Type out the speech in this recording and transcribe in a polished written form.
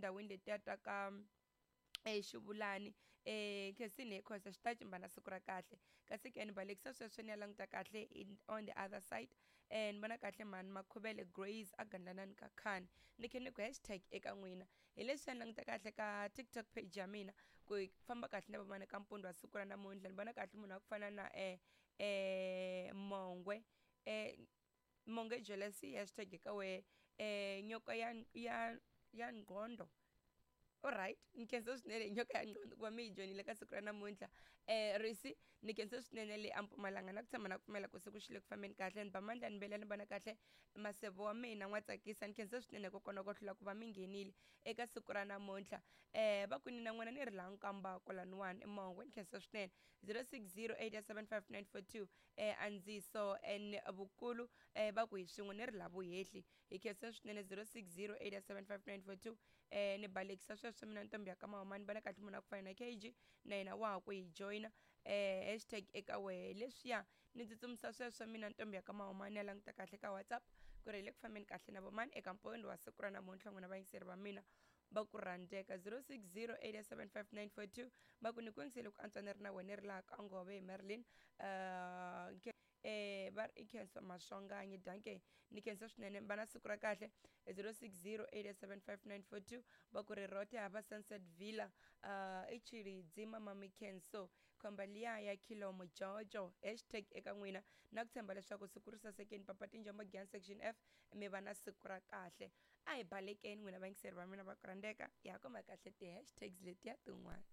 Etindhawini letiya ta ka exivulani Khensini Khosa xi ta cimba na siku ra kahle. Kasi ke ni balekisa sweswo ni ya languta kahle in, on the other side. Ni vona kahle mhani Makhuvele Grace a gandlanani ka khani ni khe ni ku hashtag eka n'wina. Hi leswi ni languta kahle ka TikTok page ya mina ku hi famba kahle na vamani ka mpundzu wa siku ra namuntlha. Ni vona kahle munhu wa ku fana na Mongwe Mongwe Jealousy hashtag eka wehe nyoka ya ya ya nqhondo. Alright, ni khensa swinene nyoka ya nqhondo ku va mi yi joyinile ka siku ra namuntlha. Risi ni khensa swinene le a Mpumalanga na ku tshama na ku pfumela ku siku xi le ku fambeni kahle. Ni ba mandla ni vela ni vona kahle maseve wa mina n'wa tsakisa. Ni khensa swinene hikokwalaho ko hlula ku va mi nghenile eka siku ra namuntlha. Va kwini na n'wina ni ri laha Nkambako laniwani Mongwe ni khensa swinene. 06087594 Andziso and Vukulu va ku hi swin'we ni ri laha Vuhehli. Hi khensa swinene 06087594 ni balekisa sweswo mina ntombi ya ka Mahuma ni vona kahle munhu a ku fana na KG na yena wa ha ku hi joyina hashtag eka wehe leswiya ni tsutsumisa sweswo mina ntombi ya ka Mahuma ni ya languta kahle ka WhatsApp ku ri hi le ku fambeni kahle na vomani eka mpoweni wa siku ra namuntlha n'wina vayingiseri va mina va ku rhandzeka. 06087594 va ku ni ku yingisele ku antswa ni ri na wena ri laha ka Ngove hi Marilyn va ri i Khensa Maswanganyi danke ni khensa swinene va na siku ra kahle. 06087594 va ku ri rote hava Sunset Villa i Tshilidzi mama Mikhenso khomba liya ya khilomo jojo hashtag eka n'wina na ku tshemba leswaku siku ri sasekeni papa tinjombo Giyani section F mi va na siku ra kahle. A hi balekeni n'wina vayingiseri va mina va ku rhandzeka hi ya kuma kahle ti-hashtags letiya tin'wana.